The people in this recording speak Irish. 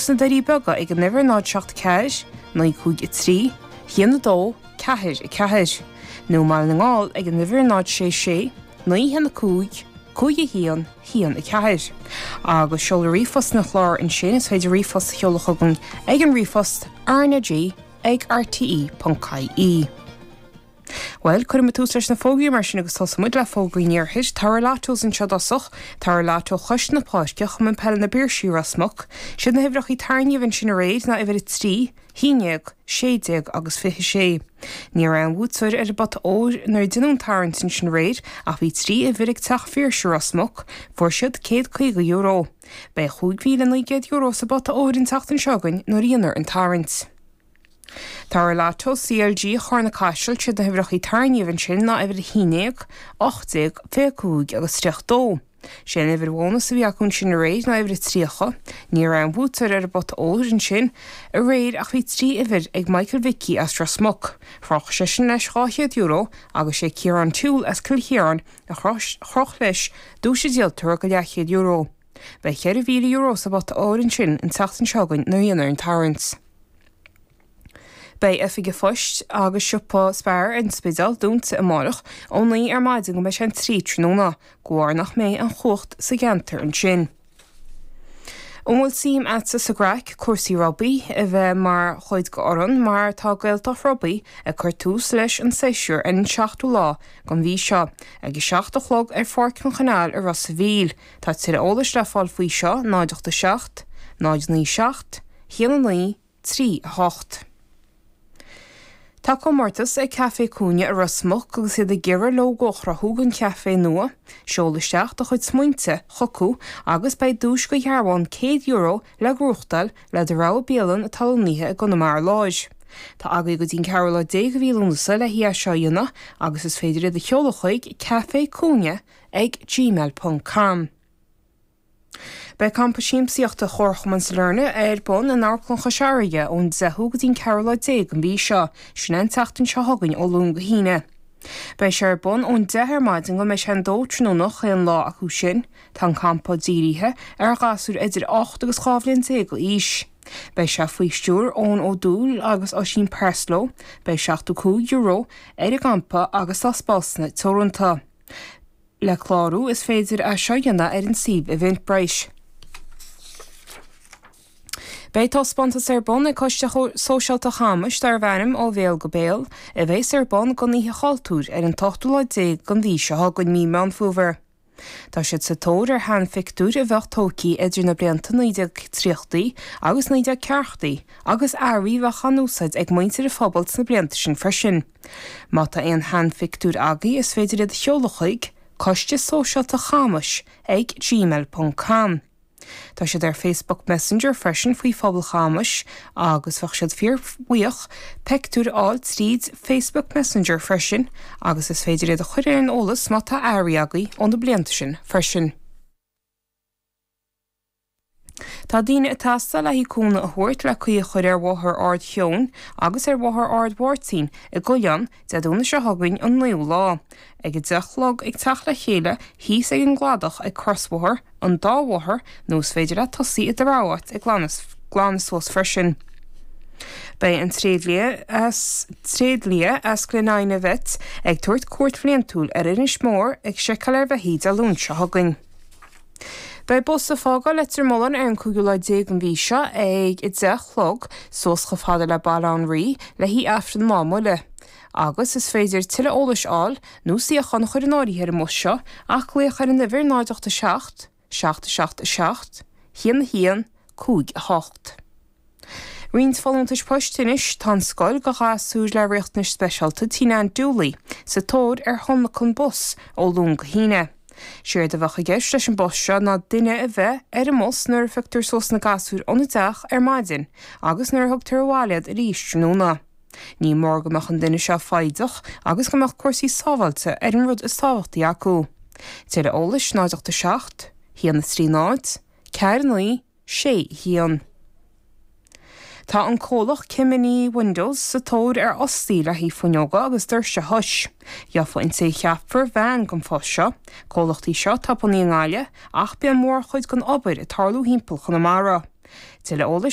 sna Doirí Beaga ag an uimhir 0 7 4 9 5 3 1 2 4 4, nó i mBaile na nGall ag an uimhir 0 6 6 9 1 5 5 1 1 4. Agus seoladh ríomhphost an chláir ansin, is féidir ríomhphost a sheoladh chugainn ag an ríomhphost rnag ag rte.ie. Bhuel, cuirfidh muid tús leis na fógraí mar sin agus tosóidh muid le fógraí an iarthair. Toradh Lottos anseo i dtosach, Toradh Lotto Chois na Páirce, Chumann Peile na bPiarsaigh, Ros Muc. Siad na huimhreacha tarraingthe ansin aréir ná uimhir 3, 11, 16 agus 26. Ní raibh aon bhuaiteoir ar an bpota óir nuair a deineadh an tarraingt ansin aréir ach bhí 3 uimhir ag Teach Phiarsaigh Ros Muc, fuair siad €150. Beidh €5,900 sa bpota óir an tseachtain seo chugainn nuair a dhéanfar an tarraingt. Toradh Lotto CLG Charna Caiseal, siad na huimhreacha tarraingthe ansin ná uimhir 11, 18, 25 agus 32. Sé an uimhir bhónus a bhí acu ansin aréir ná uimhir 30. Ní raibh aon bhuaiteoir ar an bpota óir ansin aréir ach bhí 3 uimhir ag Michael Mhicí as Ros Muc. Chroch seisean leis €200 agus sé Ciarán Toole as Cill Chiaráin a chroch leis duais a díoltar go leathchéad euro. Beidh €4,000 sa bpota óir ansin an tseachtain seo chugainn nuair a dhéanfar an tarraingt. Beidh Oifig an Phoist agus Siopa Spar ar an Spidéal dúnta amárach ó 9 ar maidin go mbeidh sé an 3 tráthnóna, de bharr nach mbeidh an chumhacht sa gceantar ansin. An bhfuil suim a'dsa sa gcraic, cúrsaí rugbaí, a bheith mar chuid de fhoireann mar tá Gaeltacht Rugbaí ag cur tús leis an séasúr ar an seachtú lá den mhí seo ag a 7 a chlog ar Pháirc an Chanáil i Ros a' Mhíl. Tá tuilleadh eolais le fáil faoi seo 0 8 7 0 9 7 1 9 3 8. Tá comórtas ag Caifé Cúinne i Ros Muc agus iad ag iarraidh lógó a chruthú don chaifé nua. Seol isteach do chuid smaointe chucu agus beidh duais de dhearbhán €100 le gnóthachtáil le do rogha bialann atá lonnaithe i gConamara Láir. Tá agaibh go dtí an ceathrú lá déag de mhí Lúnasa le hé seo a dhéanamh agus is féidir iad a sheoladh chuig Caifé Cúinne ag gmail ponc com. Beidh Campa Siamsaíochta Chomharchumann Sailearna ar bun in Amharclann Chois Fharraige ón 10ú go dtí an 14ú lá den mhí seo, sin é an tseachtain seo chugainn ó Luan go hAoine. Beidh sé ar bun ón 10 ar maidin go mbeidh sé an 2 tráthnóna chaon lá acu sin. Tá an campa dírithe ar ghasúir idir 8 agus 12 bhliain d'aois. Beidh sé faoi stiúir Eoin Ó Dúill agus Oisín Parslow. Beidh €75 ar an gcampa agus tá spásanna teoranta. Le clárú, is féidir é seo a dhéanamh ar an suíomh Eventbrite. Beidh taispeántas ar bun ag Coiste Sóisialta Chamais darbh ainm Ó Bhéal go Béal, a bheas ar bun don Oíche Chultúir ar an t-ochtú lá déag den mhí seo chugainn, mí Meán Fómhair. Tá siad sa tóir ar sheanphictiúir a bheadh tógtha idir na blianta 1930 agus 1940 agus earraí a bheadh á n-úsáid ag muintir an phobail sna blianta sin freisin. Má tá aon sheanphictiúir agaibh is féidir iad a sheoladh chuig, Coiste Sóisialta Chamais ag gmail ponc com. Tá siad ar Facebook Messenger freisin faoi Phobal Chamais agus bheadh siad fíor bhuíoch peictiúir a fháil tríd Facebook Messenger freisin agus is féidir iad a chur ar an eolas má tá earraí agaibh ó na blianta sin freisin. Tá daoine ag teastáil le haghaidh cúnamh a thabhairt le caoi a chur ar Bhóthar Ard Sheoin agus ar Bhóthar Ard Mháirtín i gCoileán Dé Domhnaigh seo chugainn an 9ú lá. Ag 10 a chlog ag teacht le chéile thíos ag an gcladach ag crosbhóthar an dá bhóthar nó is féidir leat tosaí i do rogha áit ag glanadh suas freisin. Beidh an tréidlia as tréidlia as Glen Inagh Vets ag tabhairt cuairt bhliantúil ar Inis Mór ag seiceáil ar bheithígh Dé Luain seo chugainn. Beidh bus ag fágáil Leitir Mealláin ar an cúigiú lá déag den mhí seo ag 10 a chlog suas chomh fada le Baile Átha an Rí le haghaidh Aifreann Lá Buile. Agus is féidir tuilleadh eolais a fháil nó suíochán a chur in áirithe ar an mbus seo ach glaoch ar an uimhir 0 8 7 7 7 7 1 1 5 8. Roinnt folúntais poist anois, tá an scoil do ghasúir le riachtanais speisialta Tigh Nan Dooley sa tóir ar thionlacan bus ó Luan go hAoine. Séard a bheadh i gceist leis an bpost seo ná duine a bheith ar an mbus nuair a phioctar suas na gasúir óna dteach ar maidin agus nuair a thugtar abhaile iad arís tráthnóna. Ní mór go mbeadh an duine seo foighdeach agus go mbeadh cúrsaí sábháilte ar an rud is tábhachtaí acu. Tuilleadh eolais 0 8 7 1 3 0 4 9 6 1. Tá an comhlacht Kemany Windows sa tóir ar fhostaí le haghaidh fuinneoga agus doirse a thois. Gheofa an té a cheapfar veain don phost seo. Comhlacht í seo atá bunaithe i nGaillimh ach bíonn mórchuid den obair ag tarlú thimpeall Chonamara. Tuilleadh eolais.